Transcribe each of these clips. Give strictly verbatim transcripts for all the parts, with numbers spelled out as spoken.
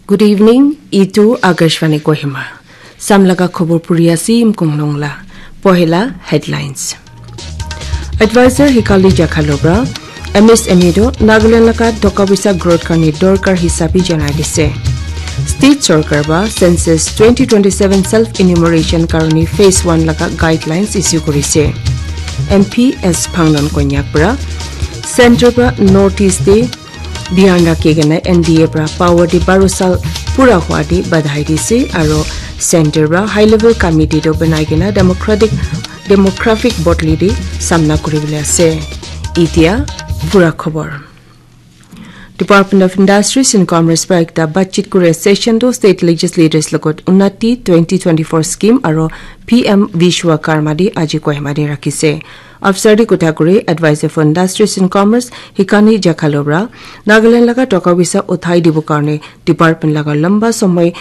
Good evening, itu Akashvani Kohima. Samlaga khobor puri ase Imkung Longla. Pohela headlines. Advisor Hikali Jakhalobra, M S M E do Nagaland laga toka pisa growth karni dorkar hisabi janai dise. State Sorkar ba Census twenty twenty-seven self enumeration karni phase one laga guidelines issue kurise. M P S Phangnon Konyak pra Center pra North East de dhyan rakhi kena N D A pra power di baru sal pura hua di badhai dise aro center pra high level committee do banai kena democratic demographic bodli di samna kuri bole ase. Itia pura khobor. Department of Industries and Commerce pra ekta batchit kuri session do state legislators logot Unnati twenty twenty-four scheme aro P M Vishwakarma di aji Kohima di rakhise. Afsar di kotha kuri Advisor for Industries and Commerce Hikani Jakhalobra Nagaland laga toka pisa uthai dibo karne department laga lamba somoy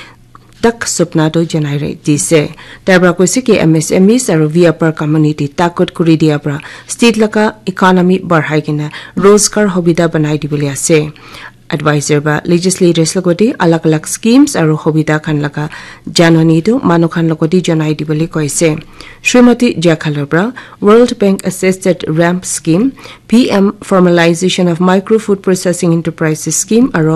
tak supna do janai re dise. Tai pra koise ki M S M Es aro V R community takot kuri dia pra state laga economy barhai kena rozgar hobida banai dibole ase. Advisor ba legislators logoti alag alag schemes aro hobida khan laga janani tu manu khan logoti janai dibole koise. Srimati Jakhalobra World Bank Assisted ramp scheme, P M Formalization of Micro Food Processing Enterprises scheme aro